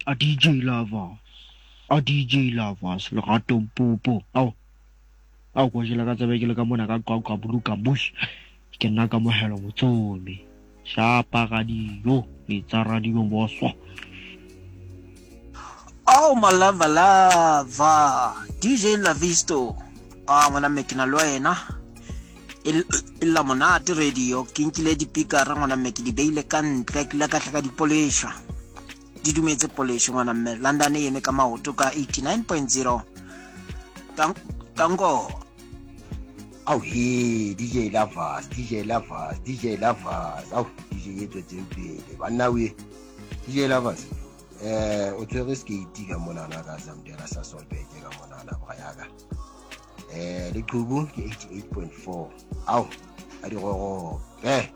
A DJ Lovers, a DJ Lovers, Lerato Mpopo. Ao, ao ko jela ka tsebe ke le ka mona ka Qwaqwa Buluka Bush. Ke nna Kamohelo Motsomi. Shapa radio, letsa radio boso. Oh malava lava DJ Lavisto ah ngwana mme ke na le wena e lla monate radio ke nkile dipikara ngwana mme ke di beile ka ntle ke ile ka tla ka dipolesha di dumetse polesho ngwana mme London e eme ka maoto ka 89.0 tanko. Ao he DJ Lovers, DJ Lovers, DJ Lovers. Ao DJ e tswetseng pele. Banna we DJ Lovers. Eh o tshwere skate ka monana ka Zamdela sa Solbeke ka monana bra yaka. Eh leqhubu ke 88.4. Ao a di gorope.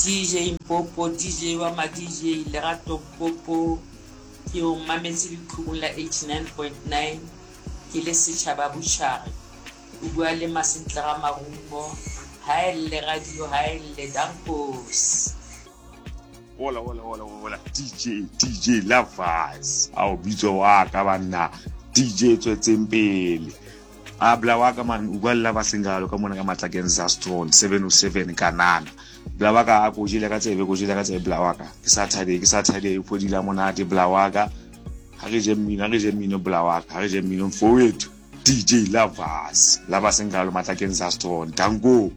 DJ Mpopo, DJ wa ma DJ, Lerato Mpopo, ke o mametse leqhubung la 89.9, ke le setjhaba Butjhare. O bua le Masentle ga Marumo, haelle radio haelle, dankos. Hola, hola, hola, hola, DJ, DJ Lovers. Ao bitso wa ka banna, DJ tswetseng pele. A bla wa ka man, o bua le Lovers ngalo ka mona ka matlakeng Zastron 707 kanana. Bla wa ka a ko jele ka tsebe, ko jele ka tsebe bla wa ka. Ke Saturday, ke Saturday, o phodila monate bla wa ka. Ha re je mmino, ha re je mmino bla wa ka, ha re je mmino mfowethu. DJ Lovers, Lovers ngalo matlakeng Zastron. Danko.